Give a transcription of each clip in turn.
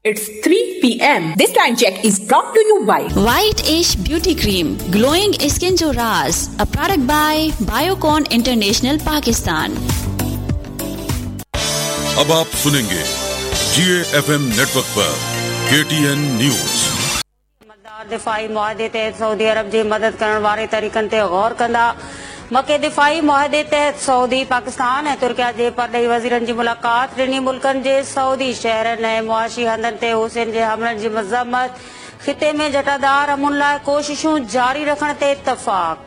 It's 3 p.m. This time check is brought to you by White Ash Beauty Cream, glowing skin جو راز, a product by Biocon International Pakistan. अब आप सुनेंगे जी F M network पर KTN news. अमलदार दिफ़ाई मुआहिदे तहत Saudi अरब जी मदद करण वारे तरीक़नि ते गौर कंदा। मके दिफ़ाई मुआहिदे तहत सऊदी, पाकिस्तान ऐं तुर्किया जे परॾेही वज़ीरनि जी मुलाक़ात। टिन्ही मुल्कनि जे सऊदी शहरनि ऐं मुआशी हंधनि ते हुसैन जे हमलनि जी मज़म्मत। ख़िते में जटादार अमन लाइ कोशिशूं जारी रखण ते इत्तफ़ाक़।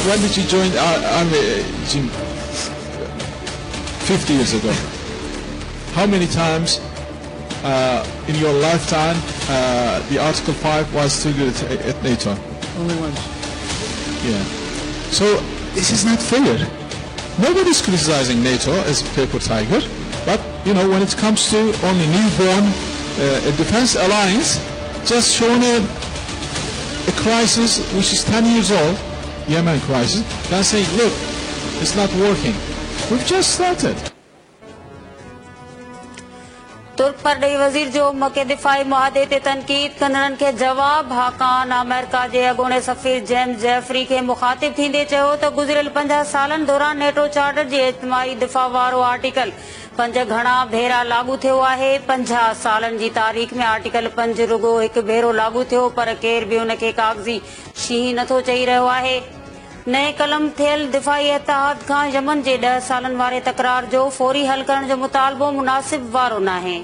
When did you join our army, Jim? 50 years ago. How many times in your lifetime the Article 5 was triggered at NATO? Only once. Yeah. So this is not fair. Nobody's criticizing NATO as a paper tiger, but you know, when it comes to only newborn a defense alliance, just shown a crisis which is 10 years old, Yemen crisis, then saying, look, it's not working. We've just started. तुर्क परॾेही वज़ीर जो मके दिफ़ाई मुआहिदे ते तनक़ीद कंदड़नि खे जवाब। हाकान America जे अॻूणे सफ़ीर जेम्स जेफरी खे मुख़ातिब थींदे चयो त गुज़िरियल 50 सालनि दौरान नेटो चार्टर जे इज्तिमाई दिफ़ा वारो आर्टिकल 5 घणा भेरा लागू थियो आहे। 50 सालनि जी तारीख़ में आर्टिकल 5 रुगो हिकु भेरो लागू थियो, पर केर बि उनखे काग़ज़ी शींहुं नथो चई रहियो आहे। नए कलम थियल दिफ़ाई इत्तेहाद खां यमन जे 10 सालनि वारे तकरार जो फौरी हल करण जो मुतालबो मुनासिब वारो नाहे।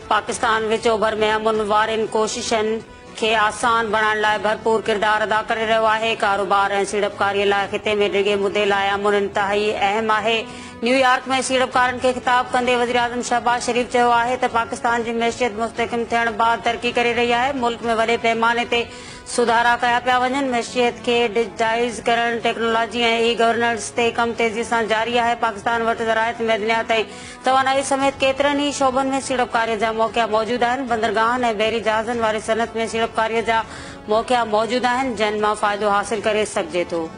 पाकिस्तान विच ओभर में अमन वारनि कोशिशनि खे आसान बणाइण लाइ भरपूर किरदार अदा करे रहियो आहे। कारोबार ऐं सीड़पकारीअ लाइ ख़िते में डिघे मुदे लाइ अमन इंतिहाई अहम आहे। न्यूयॉर्क में सीड़पकारनि खे ख़िताब कंदे वज़ीर आज़म शहबाज शरीफ चयो आहे त पाकिस्तान जी मैशियत मुस्तहकम थियण बाद तरक़ी करे रही आहे। मुल्क में वॾे पैमाने ते सुधारा कया पिया वञनि। मैशियत खे डिजिटाइज़ करण, टेक्नोलॉजी ऐं ई गवर्नेंस ते कमु तेज़ी सां जारी आहे। पाकिस्तान वटि ज़राइत, मैदनियात ऐं तवानाई समेत केतिरनि ई शोबनि में सीड़पकारीअ जा मौक़ा मौजूदु आहिनि। बंदरगाहनि ऐं बहरी जहाज़नि वारी सनअत में सीड़पकारीअ जा मौक़ा मौजूदु आहिनि, जंहिं मां फ़ाइदो हासिल करे सघिजे थो।